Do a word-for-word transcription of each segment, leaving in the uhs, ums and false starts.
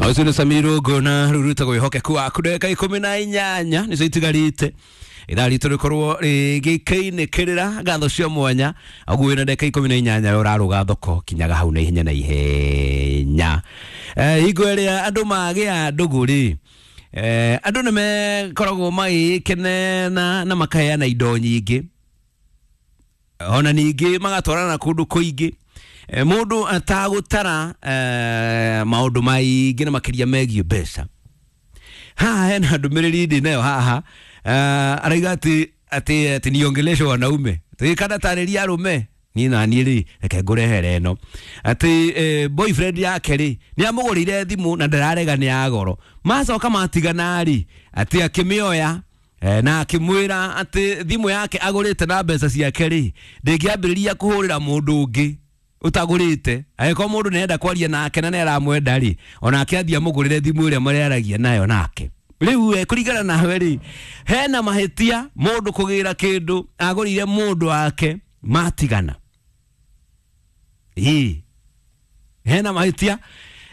Ũcio nĩ Samir Ngona ruruta gwĩhokeku waku ndagĩka ikũmi na inyanya nĩcio itigarĩte ithaa ritũ rĩkorwo rĩgĩkĩinĩkĩrĩra ngatho cia mwanya ũguo wĩna ndagĩka ikũmi na inyanya we ũrarũga thoko kinyaga hau na ihenya na ihenya. Eh, hingo ĩrĩa andũ magĩa ndũgũ rĩ, eh, andũ nĩ mekoragwo magĩkenena na makaheana indo nyingĩ ona ningĩ magatwarana kũndũ kũingĩ. Eh, mũndũ atagũtara eh, maũndũ maingĩ na makĩria megiĩ mbeca. Haha hena ndũmĩrĩri ndĩ nayo haha. uh, arauga atĩ atĩ atĩ niongeleshe wanaume kana tarĩria arũme niĩ na niĩ rĩ reke ngũrehere ĩno atĩ eh, boyfriend yake rĩ nĩ amũgũrĩire thimũ na ndararega nĩ ya goro macoka matigana rĩ atĩ akĩmĩoya eh, na akĩmwĩra atĩ thimũ yake agũrĩte na mbeca ciake rĩ ndĩngĩambĩrĩria kũhũrĩra mũndũ ũngĩ utagũrĩte angĩkorwo mũndũ nĩarenda kwaria nake na nĩaramwenda rĩ onake athiĩ amũgũrĩre thimũ ĩrĩa marĩaragia nayo nake rĩu we kũringana nawe rĩ hena mahĩtia mũndũ kũgĩra kĩndũ agũrĩire mũndũ wake matigana ĩĩ hena mahĩtia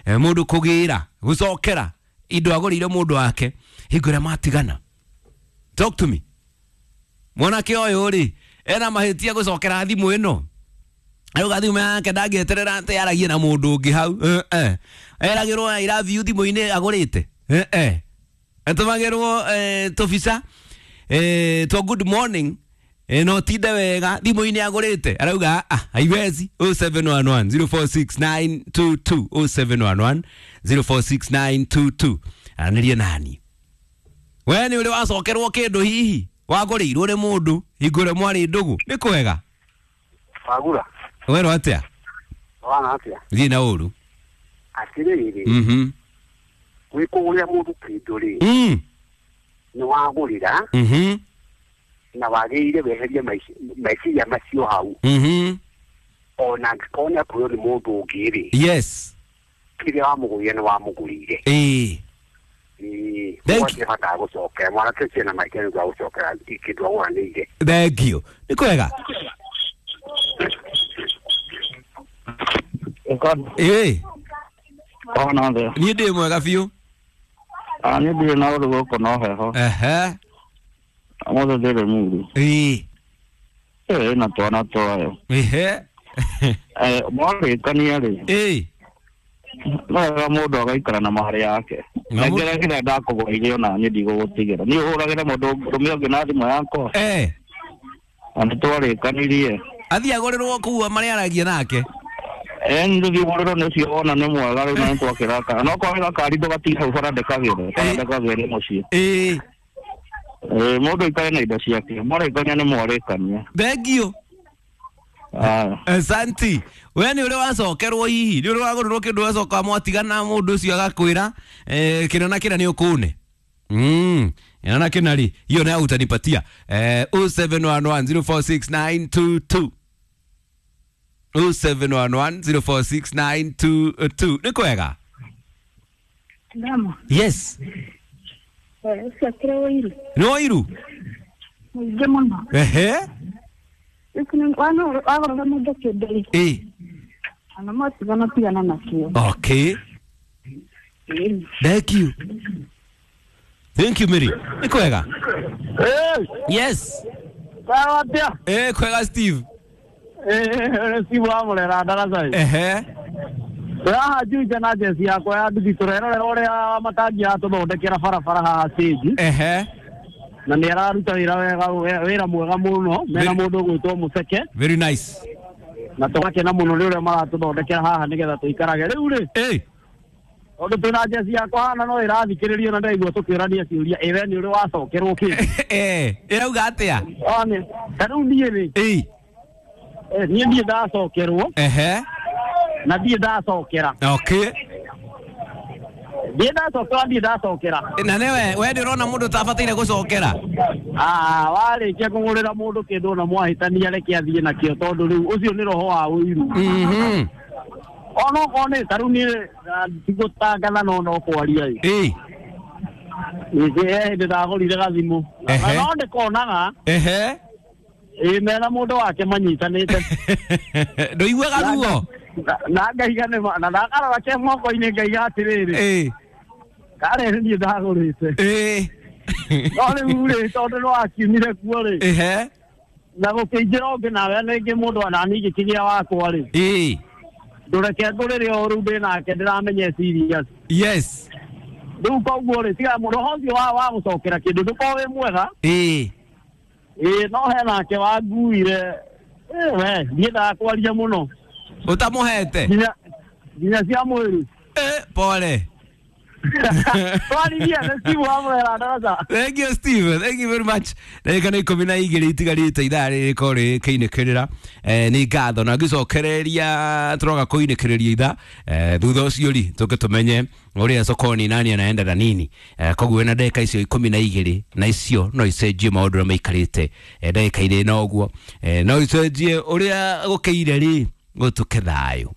eh, mũndũ kũgĩra gũcokera indo agũrĩire mũndũ wake hingo ĩrĩa matigana. Talk to me. Mwanake ũyũ rĩ ena mahĩtia gũcokera thimũ ĩno arauga thimũ yake ndangĩeterera atĩ aragie na mũndũ ũngĩ hau eh, eh. Eragĩrwo I love you thimũ-inĩ agũrĩte eh, eh. Atũmagĩrwo eh, tũbica eh, twa good morning eh, no tinde wega thimũ-inĩ agũrĩte arauga ah, haiwezi. oh seven one one zero four six nine two two oh seven one one zero four six nine two two aranĩrie nani we nĩ ũrĩ wacokerwo kĩndũ hihi wagũrĩirwo nĩ mũndũ hingo ĩrĩa mwarĩ ndũgũ nĩ kwega Wagura werwo atĩa wana atia thiĩ na ũru atirĩrĩ mhm wĩkũgũrĩra mũndũ kĩndũ rĩ mm nĩ wagũrĩra mhm na wagĩrĩire weherie maici- meciria macio hau mhm ona angĩkorwo nĩ akwĩrwo nĩ mũndũ ũngĩ rĩ yes kĩrĩa wamũgũrire nĩ wamũgũrĩire ĩĩ Ĩĩ, Thank ũguo bata gũcokera mwanake ũcio ena mahĩtia nĩ ũndũ wa gũcokera kĩndũ agũranĩire. Thank you nĩ kwega ĩĩ Ona thĩ niĩ ndĩ mwega biũ Ah, niĩ ndirĩ na ũru gũkũ no heho ehe ũmũthĩ ndĩrĩ muru ĩĩ ĩĩ na twana twayo ehe Eh, mwarĩkania rĩ ĩĩ no wega mũndũ agaikara na marĩ yake Na mũ- nengera kĩrĩa ndakũgũrĩire ona niĩ ndigũgũtigĩra niĩ ũhũragĩre mũndũ ũrũme ũngĩ na thimũ yakwa eh na nĩtwarĩkanirie athiĩ agũrĩrwo kũu marĩaragia nake Eh, nĩ thiĩ ũgũrĩrwo nĩ ũcio wona nĩ mwega rĩu na nĩtwakĩraka no kwagĩra kari ndũgatiga hau bara ndĩkagĩre bara ndĩkagĩre mũciĩ ĩĩ Eh, mũndũ aikare na indo ciake mwarĩkania nĩ mwarĩkania thank you Aya. Asante. We nĩ ũrĩ wacokerwo hihi nĩ ũrĩ wagũrĩrwo kĩndũ wacoka mwatigana mũndũ ũcio agakwĩra eh, kĩna na kĩna nĩ ũkũne mm kĩna na kĩna rĩ hiyo nayo utanipatia eh, oh seven one one zero four six nine two two oh seven one one zero four six nine two two nĩ kwega Ndama. yes Eh, ũcio akĩrĩ ũiru. nĩ ũiru Mũingĩ mũno. ehe Wagũrĩra mũndũ kĩndũ rĩ, ĩ ona mwatigana tigana nakĩo. okay Ĩĩ. thank you thank you Mary nĩ kwega Eh, yes sawa atia eh kwega Steve Eh, Steve wa Murera ndaraca ehe haha Juja na jeci yakwa ya nduthi tũrerorera ũrĩa matangi atũthondekera barabara haha stage ehe na nĩ araruta wĩra wega wĩra mwega mũno mena Very- mũndũ ũgwĩtwo Mũceke very nice na tũgakena mũno nĩ ũrĩa maratũthondekera haha nĩgetha tũikarage rĩu rĩ ĩ tondũ twĩna jeci yakwa hana no ĩrathikĩrĩrio na ndaigua tũkĩũrania ciũria ĩ we nĩ ũrĩ wacokerwo kĩndũ eh ĩrauga atĩa One, ta rĩu niĩ rĩ ĩ eh, niĩ ndiĩ ndacokerwo ehe na ndiĩ ndacokera okay ndiĩ ndacokera ndiĩ ndacokera na nĩwe we nĩ ũrona mũndũ ũtabataire gũcokera Ah, warĩkia kũgũrĩra mũndũ kĩndũ na mwahĩtania reke athiĩ nakĩo tondũ rĩu ũcio nĩ roho wa ũiru mhm onokorwo nĩ ta rĩu niĩ ah, tigũtangatha no no kwaria ĩ ĩ ningĩ he hĩndĩ ndagũrire gathimũ na Ehe. no ndĩkonaga ehe ĩ mena mũndũ wake manyitanĩte ndũiguaga ruo na ngaiga nĩ ma- na ndakarora ke moko-inĩ ngaiga atĩrĩrĩ ĩ Karĩ nĩ niĩ ndagũrĩte. Ĩĩ. No rĩu rĩ, tondũ nĩ wakiumire kuo rĩ, Ehe. na gũkĩingĩra ũngĩ nawe rĩngĩ mũndũ anani ngĩkĩgĩa wakwa rĩ, Ĩĩ. ndũreke ngũrĩre o rĩu ndĩ nake ndĩramenya serious. Yes. Rĩu koguo rĩ, tiga roho ũcio wa wa gũcokera kĩndũ ndũkorwo wĩ mwega. Ĩĩ. Ĩĩ, no he nake wanguire. Ĩ, we ndiendaga kwaria mũno. Ũtamũhete? Nginya nginya cia mwĩrĩ. Eh, pole. Twaririe nĩ Steve wa Mũrera ndaraca. Thank you, Steve. Thank you very much. Ndagĩka nĩ ikũmi na igĩrĩ itigarĩte ithaa rĩrĩ rĩkĩinĩkĩrĩra. Eh, nĩ ngatho na ngĩcokereria tũroga kũinĩkĩrĩria ithaa. Eh, thutha ũcio rĩ tũke tũmenye ũrĩa sokoni nani anaenda na nini. Eh, koguo wĩna ndagĩka icio ikũmi na igĩrĩ na icio no icenjie maũndũ ũrĩa maikarĩte. Eh, ndagĩka-inĩ ĩno ũguo. Eh, no icenjie ũrĩa gũkĩire rĩ gũtuke thayũ.